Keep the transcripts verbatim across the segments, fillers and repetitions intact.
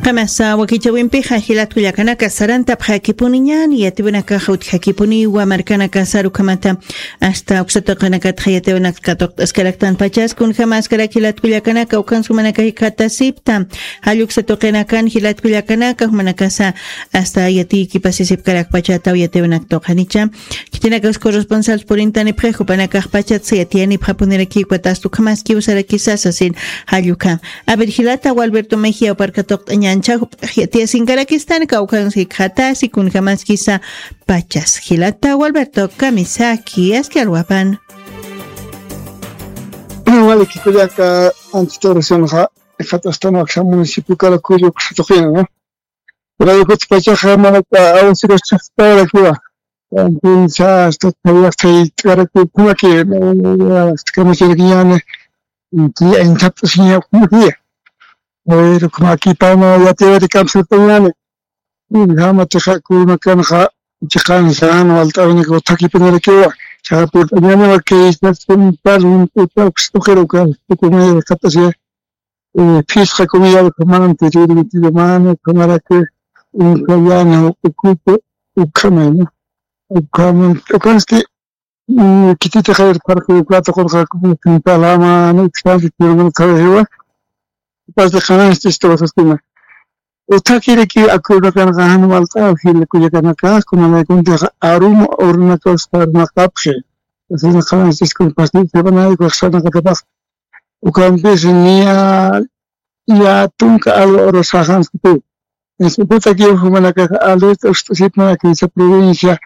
Kamasa wakichawimpixa jilat kullakanaka sarantapxakipuniñan yatiwanakaxa utjakipuniwa markanaka sarukhamata asta uksatuqinakatxa yatiwanaka katuqt'askaraktan pachas kunjamaskarak jilat kullakanaka ukansumanaka jikhatasipta. Jalluksa tuqinakan jilat kullakanaka jumanakasa asta yatiykipasisipkarakpachata uyatiwanak tuqanicha. Khitinakax corresponsal purintanipxi jupanakaxpachatsa yatiyanipxapunirakiw katastu ukhamaskiw sarakisasa sin. Jalluka. Aver jilata walberto mejia uparkatuqt'añancha jup'ax yatiyasinkarakistan kawkhansi jikxatasi kunjamaskisa. Pachas jilata walberto kamisaki aski alwapan. Wali kikullaka antitorresionxa jat'astan waksa municipio karakullu kusatuqina, ¿no? Pero yukuchpachaxa manaka awasiraschaxtawarakiwa. Entonces hasta tayaqtayt'arakiwa kumaki kamachirakiñani. Inthapt'asiña kumaki. Pero kumaki pama yatiwari kamsirtañani. Jama chiqa kurunakanxa chiqansan walt'awinak uthakipanirakiwa. Chaqa purt'añaniwa kaychaskunpar hunt'uta uksa tuqira uka tukumayar qat'asiya. Phisqa kumayar ukhamanti rirmitillumani ukhamaraki. Unkayana ukupi ukhamana. Ukhaman ukansti. Kitita qawir parqu uka tuqurqa kupi pintalamani uksanti tiruman qhawixiwa. Pasti qanansti istuwasastina. Uthakiriki acuerdo kanqa jan walt'aw jila kullakanaka kunanaykuntixa aruma urunakaw sarnaqapxi. Asina qanansiskun pasti sabanayku sarnaqatapax. Ukampis niya ya tunka alwa uru saxanskiti. Ukutakiw jumanakax alerta ust'usipnaki esa provincia.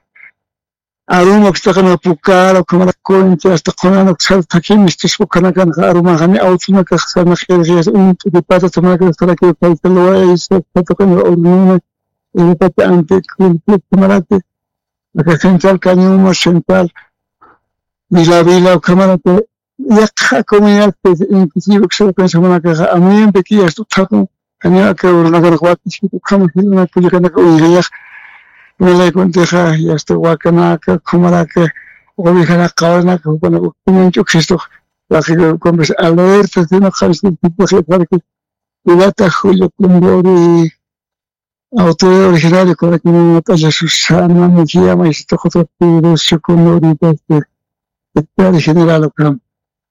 Aruma ukstaqana pukara ukhamara kunchi asta qunana uksar thakhimistus ukhanakanxa arumaxani awtunakax sarnaqirxiyas uñt'uti pata tumanakax sarakiw kayta luwaysa patuqana urununa. Iripati anti kulpit tumarati aka central cañuma central vila vila ukhamarati. Yaqha comunidad pues inclusive uksakansa jumanakaxa amuyampi kiyasta uthakun. Janiw aka urunakanax wakiskit ukhama jilanaka kullakanaka uyrayax. Imalaykuntixa yasta wakanaka ukhamaraka ovejanaka qawrinaka jupanaka ukhamanch'uksistux. Waqikumpis alerta sino qamsitipixi parki. Ilata julio kunduri. Autoridad originario kunakimanat'alla susana mujiyama isituqutaqti rucio kunduri. Hectare general ukham.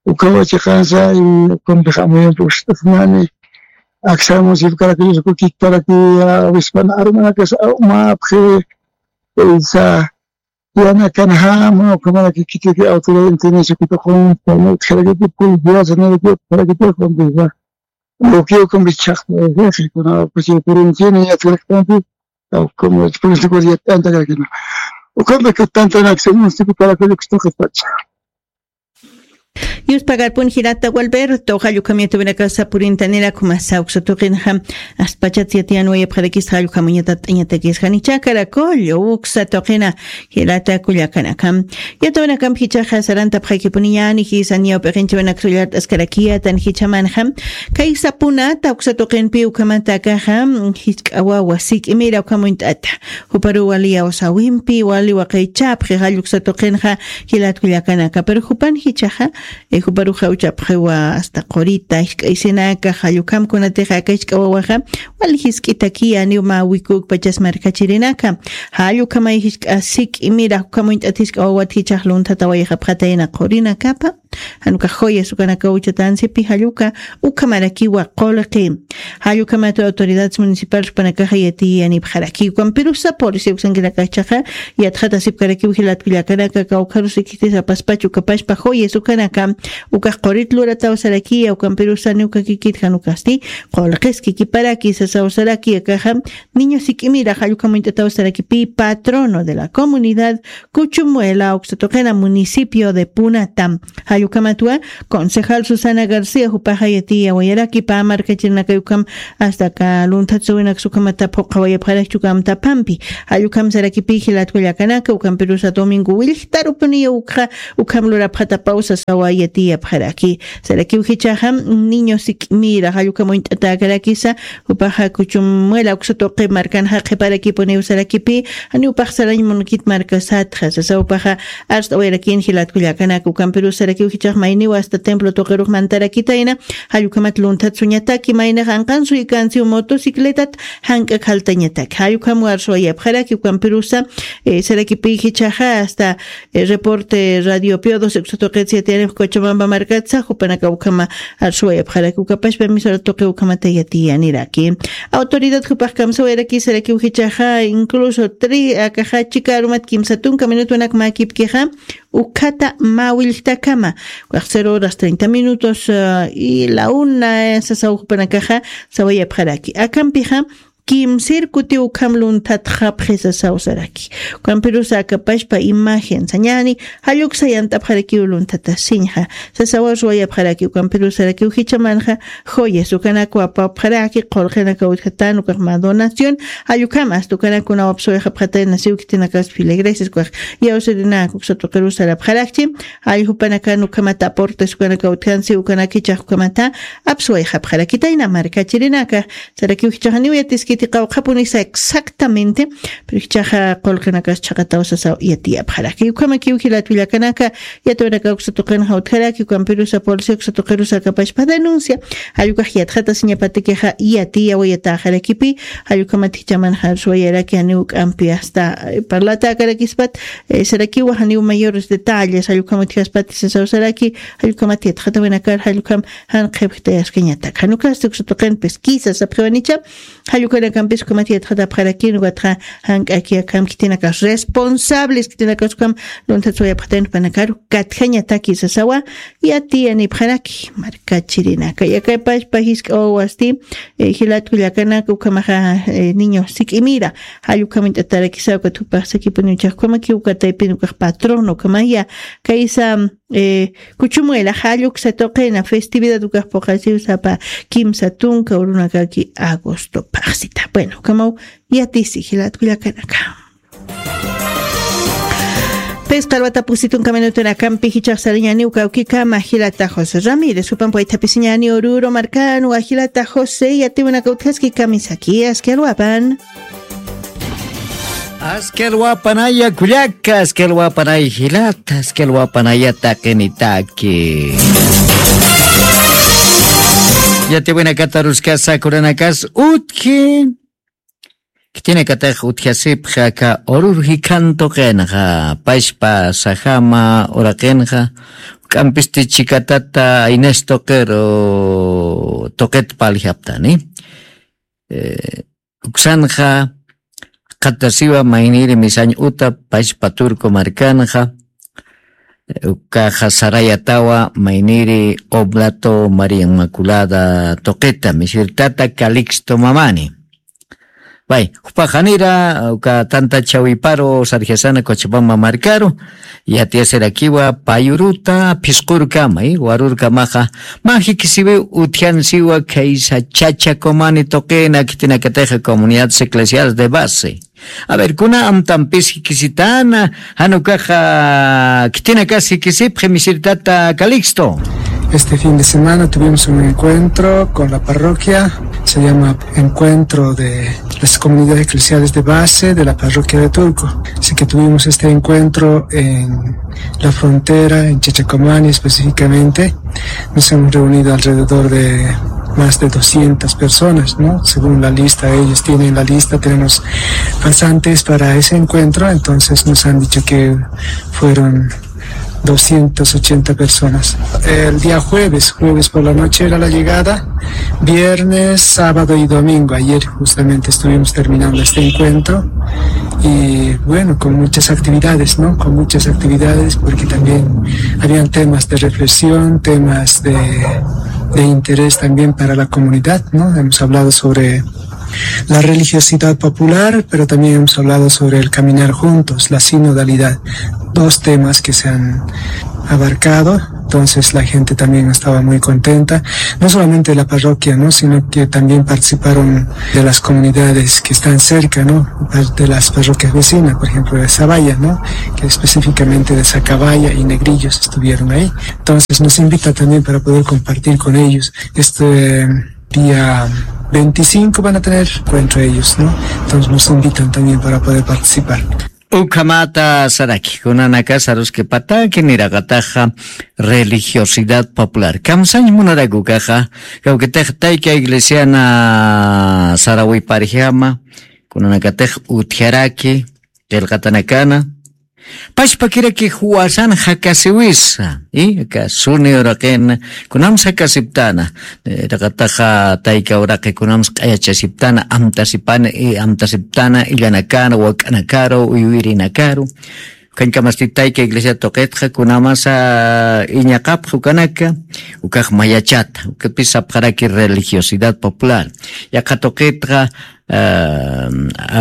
Ukawa chiqansa y ukampix amuyampi usit'asnani. Aksa municipio karakullus kukikparaki awispana arumanakas umapxi. Isa yanakanjama ukhamaraki kitiki autoridad intendencia kutuqunsa utjarakiti policía sanaraki utjarakiti ukampisa. Ukiw ukampi chhaqta kuna kuchi purunchini yatkaraktanti. Ukampi purunchini yatkantakrakina. Ukampi kutantanaksa municipio karakullus kutaqispacha. Yuspagarpun jilata walberto jallukhamiyata winakasa purintanira kumasa uksa tuqinxa. Aspachat yatiyan wayapxarakista jallukhamuñatat t'añatakisxanicha karakullu uksa tuqina. Jilata kullakanaka. Yatawanakamp jichaxa sarantapxakipuniñani jisa ñawp'iqinchawanaksa ullart'askarakiyatan jichamanxa. Kay sapunata uksa tuqinpi ukhamata akaxa jisk'a wawa sik'imira ukhamuñt'ata. Juparu wali yawsawimpi wali waqaychapxi jalluksa tuqinxa. Jilat kullakanaka pero jupan jichaxa. Juparuxa uchapxiwa asta qurita jisk'aysinaka jallukhamkunatixa aka jisk'a wawaxa. Wali jisk'itakiya niw mä wikukpachas markachirinaka. Jallukhamay jisk'a sik'imira jukhamuñt'at jisk'a wawat jichax lunthata wayxapxatayna qurinakapa. Janukax joyas ukanakaw uchatansipi jalluka. Ukhamarakiwa qulqi. Jallukhamatu autoridades municipales jupanakaxa yatiyanipxaraki ukampirusa policía uksankinakaxchaxa. Yatxatasipkarakiw jilat kullakanaka kawkharus ikistis apaspachu ukapashpa joyas ukanaka. Ukax qurit lurataw sarakiya ukampirusani ukakikit janukasti. Qulqiskikiparaki sasaw saraki akaxa. Niño sik'imira jallukhamuñt'ataw sarakipi patrono de la comunidad. Kuchumuela uksatuqina municipio de punata. Jallukhamatwa concejal susana garcía jupaxa yatiyawayaraki pä markachirinakayukham. Asta aka lunthat suwinaksa ukhamata phuqhawayapxarakchukamtaphampi. Jallukham sarakipi jilat kullakanaka ukhampirusa domingo willjtarupuniya ukxa. Ukham lurapxatapawsa sawa. tiyapxaraki. Sarakiw jichhaxa niño sik'mira jallukam uñt'atäkarakisa, jupaxa kuchumwila uksa tuqi markanxa qhiparakipuniw sarakipi, janiw paxsarañ munukit markasatxa sasa jupaxa. Arst'awayarakin jilat kullakanaka ukampirus sarakiw jichhax mayniw hasta templo tuqirux mantarakitayna, jallukhamat lunthat suñataki maynixa anqan suykansiw motocicletat jank'ak jaltañataki jallukham warsuwayapxaraki ukampirusa. Sarakipi jichhaxa hasta reporte radio piodos uksa tuqit siyatiyanix cochabamba markatsa jupanaka ukhama arsuwayapxaraki ukapashpa emisora tuqi ukhamata yatiyaniraki. Autoridad jupax kamsawayraki sarakiw jichhaxa incluso tri akaxa chika arumat kimsa tunka minutunak mäkipkixa ukhata mä willktakama, ukax cero horas treinta minutos y la una sasaw jupanakaxa sawayapxaraki akampixa kimsir kutiw ukham lunthatxapxi sasaw saraki. Ukampirusa akapashpa imagen sañani jalluksa yant'apxarakiw lunthatasiñxa sasawa ruwayapxaraki ukampirusarakiw jichhamanxa joyas ukanakwa apapxaraki qulqinakaw utjatan ukax mä donación. Jallukham asta ukanakuna wapsuwayxapxatayna siw khitinakas filigresias ukax iyawsirinak uksa tuqirusarapxarakchi. Jallukhupanaka nukhamata aportes ukanaka utjansi ukanaka ichax ukhamata apsuwayxapxarakitayna markachirinaka. Sarakiw jichhaxaniw yatiskiti qawqhapunisa exactamente. Pero jichhaxa qulqinakas chhaqataw sasaw yatiyapxaraki ukhamakiw jilat willakanaka. Yatawinaka uksa tuqinxa utjaraki ukampirusa polisi uksa tuqirusa akapashpa denuncia. Jallukax yatxatasiñapatikixa yatiyawayatäxarakipi. Jallukhamat jichhamanxa arsuwayaraki janiw k'ampi asta parlatäkarakispat. Sarakiwa janiw mayores detalles jallukhamat utjaspati sasaw saraki. Jallukhamat yatxatawinakar jallukham jan qhipjtayaskañatak jan ukasti uksa tuqin pesquisa sapxiwanicha. Jallukhanakampis ukhamat yatxatapxarakin ukatxa jank'aki akham khitinakas responsables khitinakas ukham lunthat suwayapxatayn jupanakaru katjañataki sasawa. Yatiyanipxaraki markachirinaka yakapashpa jisk'a wawasti. Jilat kullakanaka ukhamaxa niño sik'imira jallukhamuñt'atarakisa ukat jupax sakipuni uchax ukhamakiw ukataypin ukax patrón ukhamaya kaysa kuchumuela jalluksa tuqina festividad ukax puqasiw sapa kimsa tunka urunakaki agosto paxsita bueno ukhamaw. Yatisi jilat kullakanaka. Pis qalwata pusi tunka minutunakampi jichhax sarañaniw kawkikama jilata josé ramírez jupan puythapisiñani ururu markanwa jilata josé yatiwinaka utjaski kamisaki aski alwapan. Aski alwapanaya kullaka aski alwapanay jilata aski alwapanaya taqinitaki. Yatiwinakata ruskasa kuranakas utji. Khitinakatix utjasipxi aka urur jikhan tuqinxa pashpa sajama uraqinxa juk'ampisti chikatata aynas tuqiru tuqit paljaptani. Uksanxa qatasiwa mayniri misañ uta pashpa turco markanxa. Ukaxa sarayatawa mayniri oblato maría inmaculada tuqita misirtata calixto mamani. Pay jupaxanira uka tanta chawiparu sarjasana cochapamba markaru yatiyasirakiwa payuruta phisqurkama warurkamaxa. Mä jikisiwiw utjansiwa khaysa chacha comani tuqina khitinakatixa comunidades eclesiales de base. A ver kuna amtampis jikisitana jan ukaxa khitinakas jikisipxi misirtata calixto. Este fin de semana tuvimos un encuentro con la parroquia, se llama encuentro de las comunidades eclesiales de base de la parroquia de Turco. Así que tuvimos este encuentro en la frontera, en Chachacomani específicamente. Nos hemos reunido alrededor de más de doscientas personas, ¿no? Según la lista, ellos tienen la lista, tenemos pasantes para ese encuentro, entonces nos han dicho que fueron doscientas ochenta personas. El día jueves, jueves por la noche era la llegada, viernes, sábado y domingo. Ayer justamente estuvimos terminando este encuentro y bueno, con muchas actividades, ¿no? Con muchas actividades porque también habían temas de reflexión, temas de, de interés también para la comunidad, ¿no? Hemos hablado sobre la religiosidad popular, pero también hemos hablado sobre el caminar juntos, la sinodalidad, dos temas que se han abarcado Entonces la gente también estaba muy contenta, no solamente de la parroquia, ¿no? Sino que también participaron de las comunidades que están cerca, ¿no? De las parroquias vecinas, por ejemplo, de Sabaya, ¿no? Que específicamente de Sacabaya y Negrillos estuvieron ahí. Entonces nos invita también para poder compartir con ellos este día veinticinco van a tener encuentro ellos, ¿no? Entonces nos invitan también para poder participar. Ukhamata saraki, kunanaka saruskipataki niraqataxa religiosidad popular. Kamsañ munaraku ukaxa, kawkitix tayka iglesiana sarawiparjama, kunanakatix utjaraki, qillqatanakana, pachpakiraki juwasan jakasiwisa, y aka suni uraqina, kunams jakasiptana, eh, raqataxa tayka uraqi kunams q'ayachasiptana, amtasipana, y amtasiptana, illanakaru, wak'anakaru, uywirinakaru. Ukañkamasti tayka iglesia tuqitxa, kunamasa iñaqapxa ukanaka, ukax mayachata, ukapis sapxaraki religiosidad popular. Yaqha tuqitxa, ah,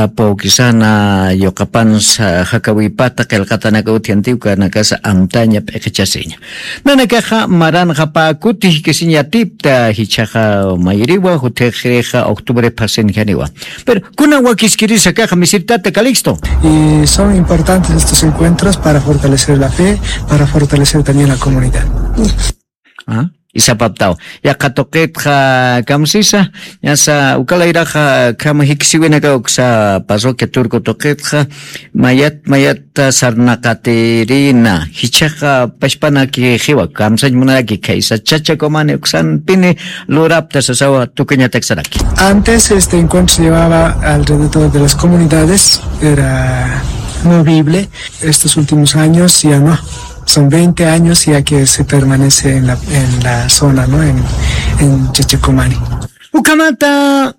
apu kisana yuqapansa jakawipata qillqatanaka utjanti ukanakasa amtaña p'iqichasiña. Nanakaxa maranxapa kuti jikisiñatipta jichhaxa mayiriwa jutixrixa octubre phasinjaniwa. Pero kuna wakiskirisa kaxa misirtata Calixto. Y son importantes estos encuentros para fortalecer la fe, para fortalecer también la comunidad. Ah, isapaptaw. Yaqha tuqitxa kamsisa, ñasa ukalayraxa khama jikisiwinaka uksa parroquia Turco tuqitxa, mayat, mayat sarnaqatirina, jichhaxa pachpanaki jiwa, kamsañ munaraki khaysa Chachakumani uksanpini lurapta sasawa tukuñatak saraki. Antes este encuentro se llevaba alrededor de las comunidades, era movible. Estos últimos años ya no. Son veinte años ya que se permanece en la, en la zona, ¿no? En, en Chachacomani. Ukhamata,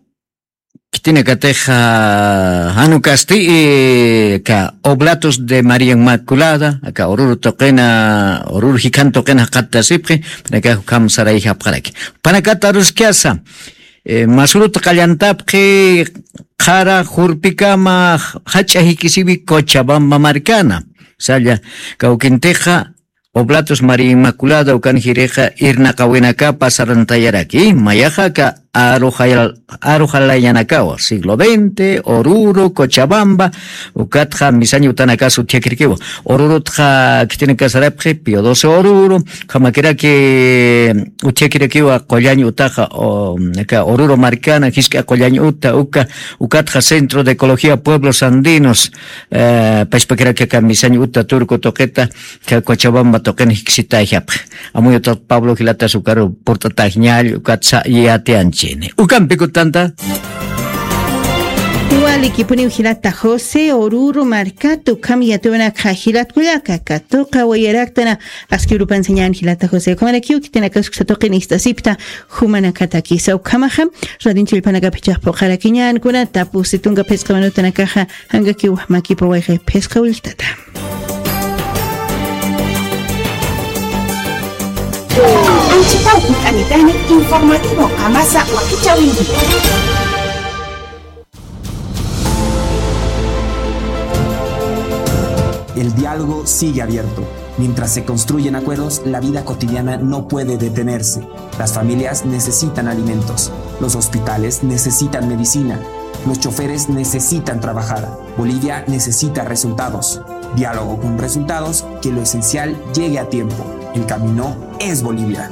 khitinakatix, ah, jan ukasti, eh, aka Oblatos de María Inmaculada, aka Oruro tuqina, Oruro jikhan tuqina jaqattasipxi, panakax ukham sarayjapxaraki. Panakata aruskasa, eh, Masuruta qallantapxi, qhara jurpikama jach'a jikisiwi Cochabamba markana. Salla, kawkintixa, Oblatos María Inmaculada ukan jirixa irnaqawinakapa sarantayaraki, mayaxa aka arujal-, arujalayanakawa, siglo veinte, Oruro, Cochabamba, ukatxa misañ utanakas utjakirakiwa. Orurutxa khitinakasarapxi, Pío doce Oruro, ukhamakiraki utjakirakiwa qullañ utaxa, o, aka Oruro markana, jisk'a qullañ uta, uka, ukatxa Centro de Ecología Pueblos Andinos, eh, pachpakiraki aka misañ uta Turco tuqita, Cochabamba tuqin jiksitayjapxi. Amuyutat Pablo jilatas ukaru purt'atäñäni, ukatsa yatiyanchini. Ukampi kutanta. Walikipuniw jilata José, Oruro markata ukham yatiyunak jilat kullaka, katuqa wayaraktana, askirupan sañan jilata José. Ukhamarakiw khitinakax uksa tuqin ist'asipta, jumanakatakisa ukhamaxa, radin chillpanakapichax phuqharakiñän, kunata pusi tunka phisqa minutanakaxa, jankakiw makipa wayqi phisqa willtata. Anchitaw kut'anitani informativo Qamasa wakichäwinki. El diálogo sigue abierto. Mientras se construyen acuerdos, la vida cotidiana no puede detenerse. Las familias necesitan alimentos. Los hospitales necesitan medicina. Los choferes necesitan trabajar. Bolivia necesita resultados. Diálogo con resultados, que lo esencial llegue a tiempo. El camino es Bolivia.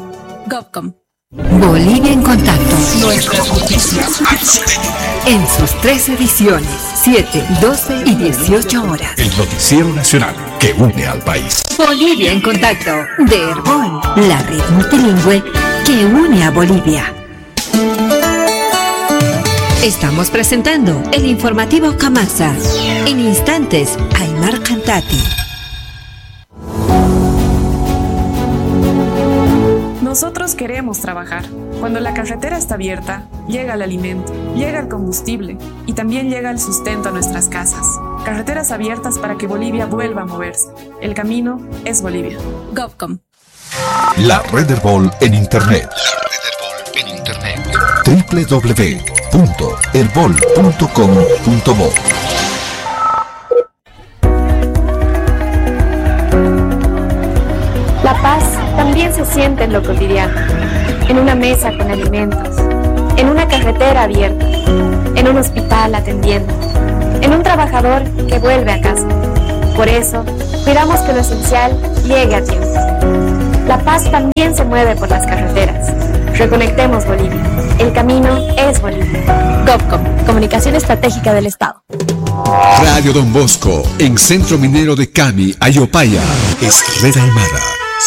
Govcom. Bolivia en contacto. Nuestras noticias. En sus tres ediciones, siete, doce y dieciocho horas. El noticiero nacional que une al país. Bolivia en contacto, de Erbol, la red multilingüe que une a Bolivia. Estamos presentando el informativo Qamasa. En instantes, Aymar Cantati. Nosotros queremos trabajar. Cuando la carretera está abierta, llega el alimento, llega el combustible y también llega el sustento a nuestras casas. Carreteras abiertas para que Bolivia vuelva a moverse. El camino es Bolivia. Govcom. La Red Erbol en Internet. La Red Erbol en Internet. W W W punto erbol punto com punto bo. La paz también se siente en lo cotidiano, en una mesa con alimentos, en una carretera abierta, en un hospital atendiendo, en un trabajador que vuelve a casa. Por eso, cuidamos que lo esencial llegue a tiempo. La paz también se mueve por las carreteras. Reconectemos Bolivia. El camino es Bolivia. GovCom, Comunicación Estratégica del Estado. Radio Don Bosco, en Centro Minero de Cami, Ayopaya, es Red Aymara.